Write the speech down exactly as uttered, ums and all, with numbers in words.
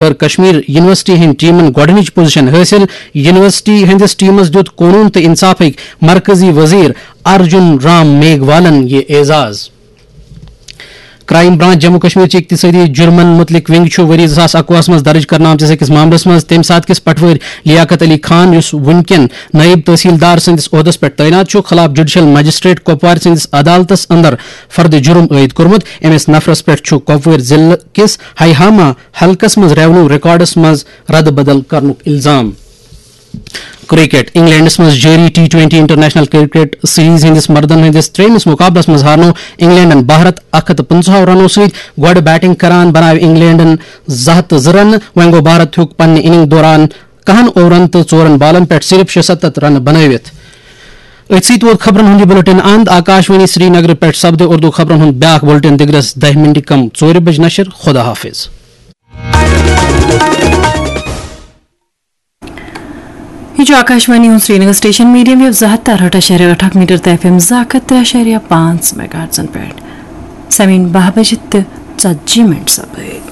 کٔر کشمیر یونیورسٹی ہٕنٛدۍ ٹیمن گۄڈٕنِچ پوزیشن حٲصِل۔ یونیورسٹی ہٕنٛدِس ٹیمس دیُت قونوٗن تہٕ انصافٕکۍ مرکزی وزیر ارجن رام میگھوالن یہِ اعزاز۔ کرائم برانچ جموں کشمیر چہِ اقتصٲدی جرمن متعلق ونگ چھُ ؤری زٕ ساس اکوُہس منٛز درج کرنہٕ آمتِس أکِس معاملس منٛز تَمہِ ساتہٕ کِس پٹوٲرۍ لیاقت علی خان، یُس وُنکٮ۪ن نٲیِب تحصیلدار سٕنٛدِس عہدس پٮ۪ٹھ تعینات چھُ، خلاف جوڈیشل مجسٹریٹ کۄپوارِ سٕنٛدِس عدالتس اندر فرد جرم عٲید کوٚرمُت۔ أمِس نفرس پٮ۪ٹھ چھُ کۄپوٲرۍ ضلعہٕ کِس ہیہاما حلقس منٛز ریونیو ریکارڈس منٛز رد بدل کرنُک الزام۔ کرکٹ۔ انگلینڈس منٛز جٲری T twenty international cricket series ہٕنٛدِس مردن ہٕنٛدِس ترٛیٚیمِس مقابلس منٛز ہارنوو انگلینڈن بھارت اکھ ہتھ تہٕ پٕنٛژٕہو رنو سۭتۍ۔ گۄڈٕ بیٹنگ کران بناوِ انگلینڈن زٕ ہتھ تہٕ زٕ رنہٕ۔ وۄنۍ گوٚو بھارت ہیوٚک پننہِ اننگ دوران کہن اوورن تہٕ ژورن بالن پٮ۪ٹھ صرف شےٚ ستتھ رنہٕ بنٲوِتھ۔ أتھۍ سۭتۍ ووت خبرن ہُنٛد یہِ بُلٹن اند۔ آکاش وانی سری نگر پٮ۪ٹھ سپدِ اردو خبرن ہُنٛد بیاکھ بُلٹن دِگرس دَہہِ منٹہِ کم ژورِ بجہِ نشر۔ خدا حافظ۔ یہِ چھُ آکاشوانی ہُنٛد سرینگر سٹیشن، میڈیم ویو زٕ ہتھ تہٕ ارہٲٹھ اعشاریہ ٲٹھ اکھ میٹر تہٕ ایف ایم زٕ ہتھ تہٕ ترٛےٚ اعشاریہ پانٛژھ میگاہرٹزن پٮ۪ٹھ۔ سمین باہ بجہِ تہٕ ژتجی منٹ سپٲرۍ۔